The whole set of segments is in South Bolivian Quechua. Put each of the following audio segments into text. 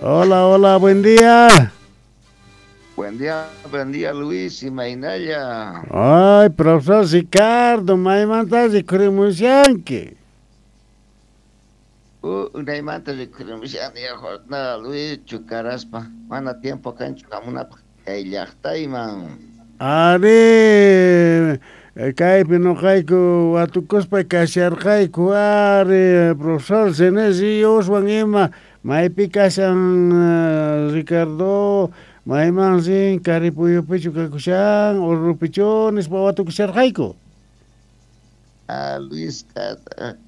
Hola, hola, buen día. Buen día Luis, imaynalla. Ay, profesor Ricardo, maymanta rikhurimushanki. Unaymanta rikhurimushani jornada Luis chukaraspa, mana tiempo kanchu hamunapaq kay llaqtayman. Ari, kaypi noqayku watukuspa kasharqayku, ari, profesor Cenesioswan ima, maypi kashan Ricardo, mayman rin Karipuyupichu kakushan, Orurupichu nispa watukusharqayku. Ah, Luis,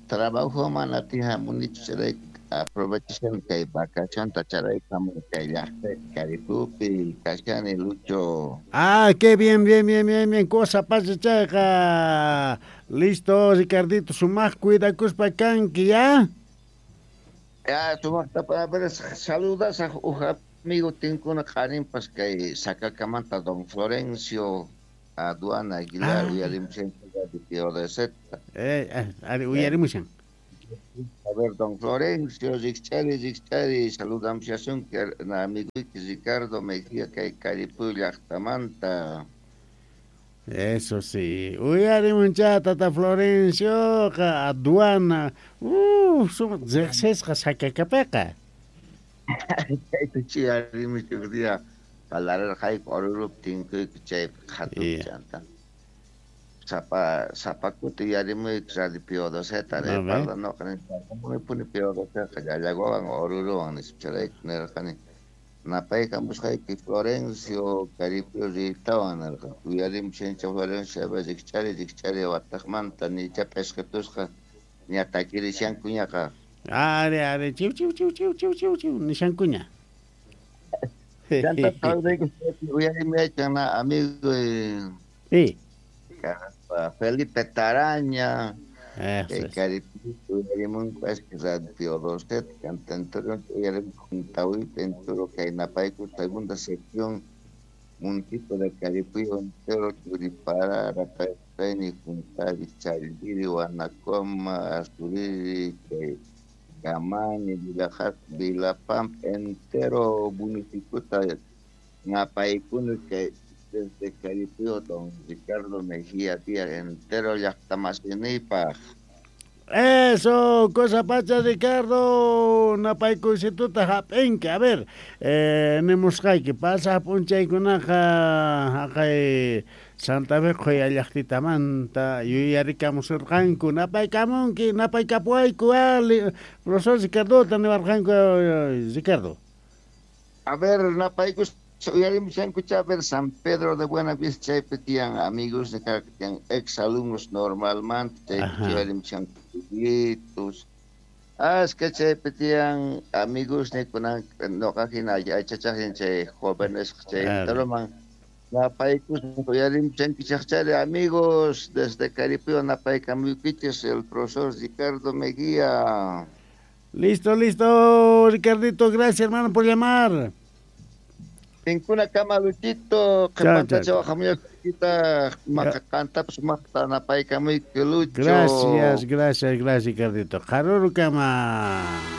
trabajo mana tihamunichu chayrayku aprovechashani kay vacacionta chayrayku hamuni kay llaqtaypi Karipupi kashani Lucho. Ah, qué bien, bien, bien, bien, bien, cosa pasa chayqa. Listo, Ricardito, sumaq cuidakuspa kanki, ya? Ya, sumaqta, a ver, saludasaq uj amigo tinkuna qarinpas kay Sacacamanta don Florencio Aduana Aguilar, uyarimushan PODZ. Ari, uyarimushan. A ver, don Florencio, rikch'ari, rikch'ari, saludamushasunki amiguyki Ricardo Mejía kay Karipuy llaqtamanta. Eso sí, uyarimuncha tata Florencioqa, aduana, sumaq riqsisqa Sacacapiqa. Chayta chiyarimush uj día parlarqayku Orurupi tinkuyku chaypi qhatupi chanta. Sapa kuti uyarimuyku radio PODZ parla noqa nispa PODZ llallaguawan Oruruwan nispa chayrayku nirqani napaykamusqayki Florencio Karipuy riytawan nirqa uyarimushancha Florencio rikch'ari rikch'ari wataqmanta nicha p'isqitusqa ña takirishankuñaqa. Ari, ari, chiw, chiw, chiw, chiw, chiw, chiw, chiw, nishankuña. Chanta uyarimuyachan amigo Sí. Felipe Taraña, Eso es. Karipuy uyarimunku radio PODZ cantantero uyarimunku Juntawita entero kay napayku segunda sección municipio de Caripuy entero Churipara, Rapayni, Juntari, Chaldiri, Huanacoma, Azuriri, Camani, Vilapampa, entero municipio napaykuna kay desde Caripuy don Ricardo Mejía Díaz entero llaqtamasiniypaq. Eso, cosa pacha Ricardo, napaykuysituta hap'inki. A ver, nimusqayki pasaq p'unchaykunaqa haqay Santa Fe qhuya llaqtitamanta yuyarikamusurqanku, napaykamunki, napaykapuwayku, profesor Ricardota niwarqanku, Ricardo. A ver, napaykus uyarimushankucha, a ver, San Pedro de Buenavista chaypi tiyan amigos de tiyan ex alumnos normalmente, chaypi uyarimushanku. Ah, es que chaypi tiyan amigos nikunan noqa hina aychachaqin chay jóvenes chay enteroman napaykus uyarimushankichaqchari amigos desde Caripuyo napaykamuykichis el profesor Ricardo Mejía. Listo, listo, Ricardito, gracias hermano por llamar. Tinkuna kama Luchito, qhipantacha waqhamuyasqaykita maqantapas sumaqta napaykamuyki Lucho. Gracias, gracias, gracias, Ricardito. Qarurukama.